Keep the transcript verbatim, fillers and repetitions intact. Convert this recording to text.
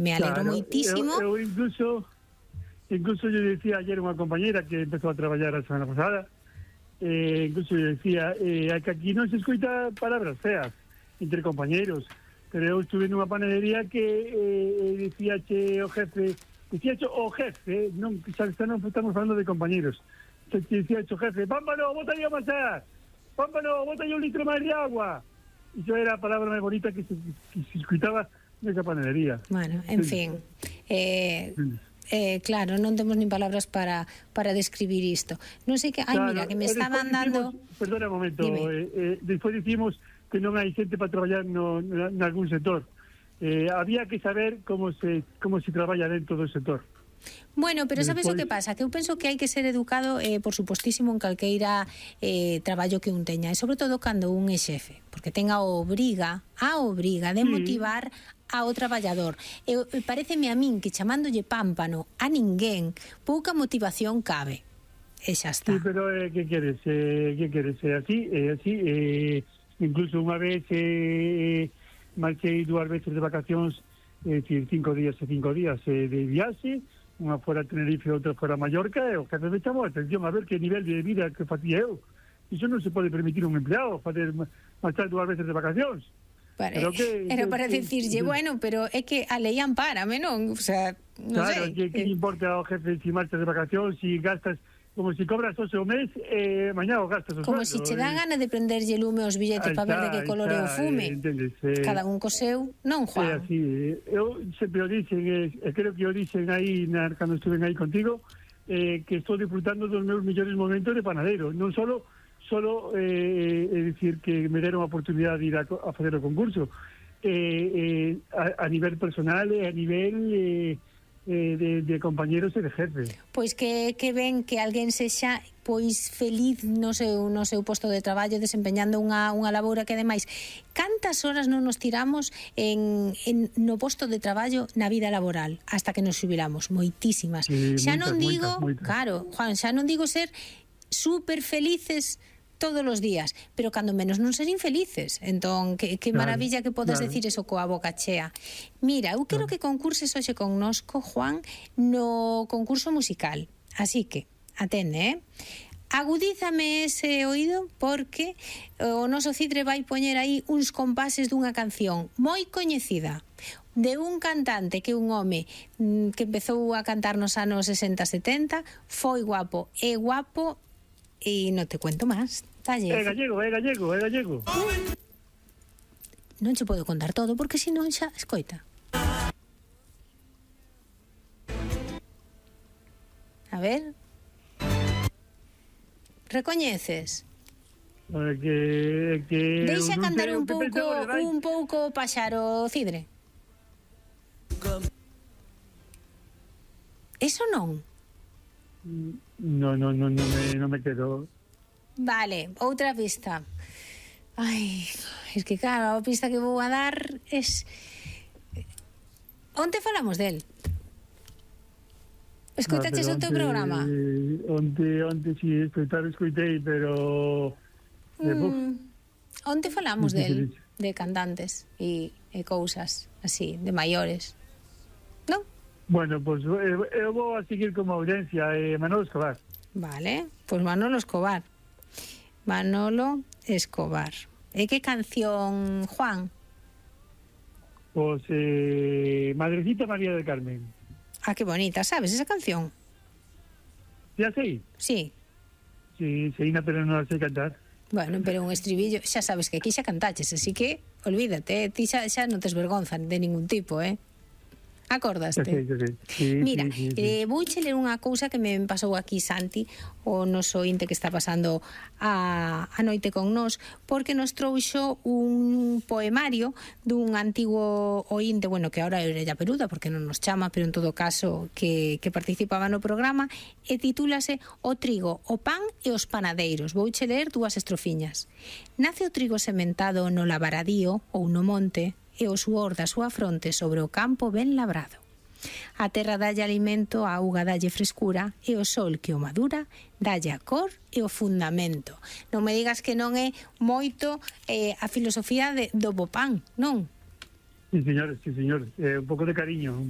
Me alegro Claro, moitísimo. Eu, eu incluso, incluso yo decía ayer unha compañera que empezou a traballar a semana pasada, eh, incluso yo decía eh, que aquí non se escoita palabras feas entre compañeros, pero eu estuve nunha panadería que eh, decía che o jefe, decía che o jefe, non, xa non estamos falando de compañeros, che decía che o jefe, Pámpano, bota aí a amasar, Pámpano, bota aí un litro máis de agua. E iso era a palabra máis bonita que se, que se escoitaba nesa panadería. Bueno, en sí. fin, eh, Sí. eh, claro, non temos nin palabras para para describir isto. Non sei que, ai, Claro, mira, que me e estaban despois dando... Dicimos, perdona un momento, Dime. eh, eh, despois dicimos que non hai xente para traballar no, na, nalgún sector. Eh, había que saber como se como se traballa dentro do sector. Bueno, pero sabes o Despois- que pasa? Que eu penso que hai que ser educado, eh, por supostísimo, en calqueira eh, traballo que un teña, e sobre todo cando un é xefe, porque ten a obriga, a obriga de Sí. motivar ao traballador. E, e pareceme a min que chamándolle pámpano a ninguén, pouca motivación cabe. E xa está. Sí, pero eh, que queres? Eh, que queres? É así, é así. Eh, incluso unha vez eh, marchei dúas veces de vacacións, é dicir, cinco días e cinco días eh, de viaxe, unha fora Tenerife e outra fora Mallorca, e o jefe me chamou a atención a ver que nivel de vida que facía eu. Iso non se pode permitir un empleado, fazer marchar dúas veces de vacacións. Para, Pero que- era que- para que- decirlle, que- bueno, pero é que a lei ampárame, non? O sea, non Claro, sei. que, que Eh, importa ao jefe si marchas de vacacións, si gastas, como si cobras doce o mes, eh, mañá o gastas o Como sueldo. se che dá eh. gana de prenderlle lume aos billetes Ahí para ver de está, que ahí color é o está, fume. eh, entendes, eh, Cada un co seu, non, É Juan? así, eh, eu sempre o dixen, eh, e creo que o dixen aí na, cando estuven aí contigo, eh, que estou disfrutando dos meus millores momentos de panadero, non solo solo eh, é dicir que me deron a oportunidade de ir a, co- a facer o concurso, eh, eh, a, a nivel personal e a nivel eh, eh, de, de compañeros e de jefe. Pois que, que ven que alguén sexa pois feliz no seu, no seu posto de traballo desempeñando unha, unha labora que ademais cantas horas non nos tiramos en, en, no posto de traballo na vida laboral hasta que nos xubilamos, moitísimas. Sí, Xa moitas, non digo, moitas, moitas. claro, Juan, xa non digo ser super felices todos os días, pero cando menos non ser infelices. Entón, que, que Claro, maravilla que podes claro. decir eso coa boca chea. Mira, eu quero que concurses hoxe connosco, Juan, no concurso musical. Así que, atende, eh? Agudízame ese oído porque o noso Cidre vai poñer aí uns compases dunha canción moi coñecida de un cantante que é un home mm, que empezou a cantar nos anos sesenta setenta, foi guapo, é guapo e non te cuento máis. Talle. É gallego, é gallego, é gallego. Non che podo contar todo porque senón xa escoita. A ver. Recoñeces? É que, é que Deixa eu non cantar sei un o que pouco pensaba de vai. un pouco o paxaro, Cidre. Eso non. No, no, no, no me, no me quedo. Vale, outra pista. Ai, es que claro, a pista que vou a dar es... Onte falamos del? Escoitaches Ah, o teu pero programa? onte- Onte, onte, si, escoitar, escoitei, pero... Eh, buf, Mm, onte falamos Sí, sí, del, sí, sí. de cantantes e, e cousas así, de maiores. Non? bueno, pues eu, eu vou a seguir como audiencia, eh, Manolo Escobar. Vale, pois Manolo Escobar. Manolo Escobar. E que canción, Juan? Pues, eh, Madrecita María del Carmen. Ah, que bonita, sabes esa canción? Ya sei, Sí. sí, sei, na, pero non la sei cantar. Bueno, pero un estribillo, xa sabes que aquí xa cantaches, así que olvídate, ti xa, xa non tes vergonza de ningún tipo, eh? Ya Acordaste? sei, ya sei. Sí, Mira, sí, sí, sí. eh, vouche ler unha cousa que me pasou aquí Santi, o noso ointe que está pasando a, a noite con nós, porque nos trouxo un poemario dun antigo ointe, bueno, que ahora é orella peluda, porque non nos chama, pero en todo caso que, que participaba no programa, e titúlase O trigo, o pan e os panadeiros. Vouche ler dúas estrofiñas. Nace o trigo sementado no lavaradío ou no monte, e o suor da súa fronte sobre o campo ben labrado. A terra dalle alimento, a auga dalle frescura e o sol que o madura dalle a cor e o fundamento. Non me digas que non é moito eh, a filosofía de, do bo pan, non? Sí, señores, sí, señores. Eh, un pouco de cariño, un